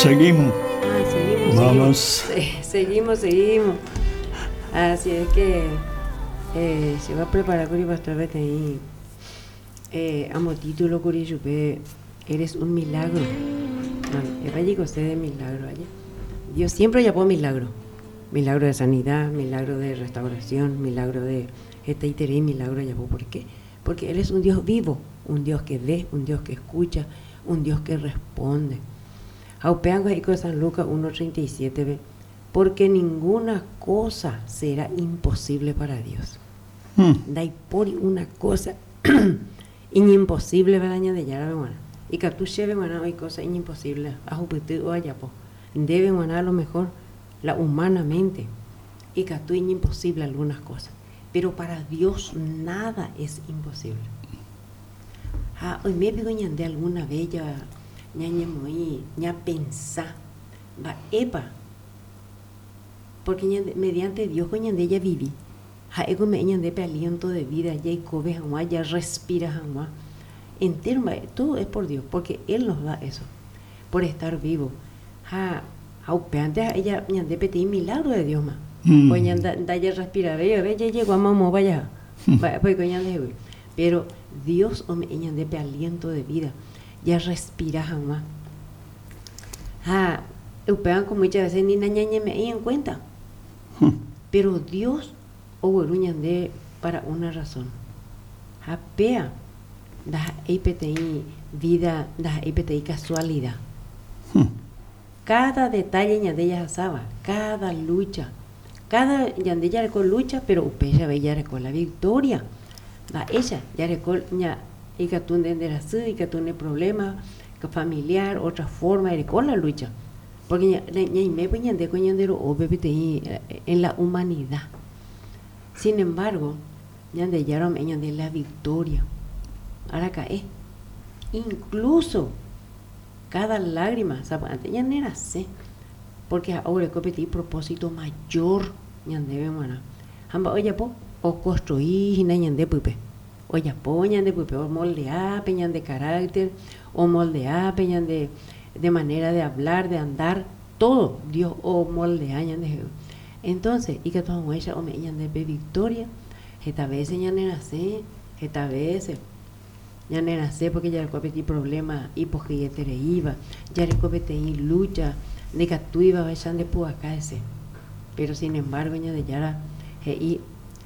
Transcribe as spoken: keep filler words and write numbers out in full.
Seguimos. Ah, seguimos. Vamos. Seguimos, seguimos, seguimos. Así es que eh, se va a preparar con el pastor Beteí. Eh, amo título curi eres un milagro. Bueno, usted de milagro allá. Dios siempre llamó milagro. Milagro de sanidad, milagro de restauración, milagro de este y milagro llamó. ¿Por qué? Porque Él es un Dios vivo, un Dios que ve, un Dios que escucha, un Dios que responde. San Lucas uno treinta y siete, porque ninguna cosa será imposible para Dios. Hmm. Por una cosa imposible para añadir ya la Y que tú lleves hay cosa imposible. A o allá po. Debe a lo mejor la humanamente. Y que tú imposible algunas cosas. Pero para Dios nada es imposible. Ah, hoy me pido de alguna bella ñañe moi ña pensá va epa porque ñande, mediante Dios con ñande ya viví ja ego me ñande pe aliento de vida ya y cobe jamás ya respira jamás entero todo es por Dios porque Él nos da eso por estar vivo ja ja antes ella ñande pe ti milagro de Dios más mm. Pues ñanda da ya respira ve ve ya llegó a mamá vaya mm. Pues con ñande pero Dios o me ñande pe aliento de vida ya respira jamás. Ah, upean como muchas veces ni ñañe me en cuenta. Hmm. Pero Dios o de para una razón. Japea da I vida, da I P T I casualidad. Hmm. Cada detalle ñande ya sabe, cada lucha, cada ñande ya con lucha, pero upeya ve ya con la victoria. Da ella ya recol ña y que tú entenderás, y que tú tienes problemas familiar, otra forma, de con la lucha. Porque en la humanidad. Sin embargo, de la victoria. Ahora cae. Incluso cada lágrima, antes ya no era así, porque ahora hay propósito mayor, oye, o construir, pupe. Oye, poñan de pupe, o moldear, peñan de carácter, o moldear, peñan de, de manera de hablar, de andar, todo, Dios o moldea, de Entonces, y que todo ella o me de victoria, esta vez ya no nace, esta vez ya no nace porque ya el problema y porque ya te iba, ya el lucha, de que tú ibas a de acá ese. Pero sin embargo, ya de ya y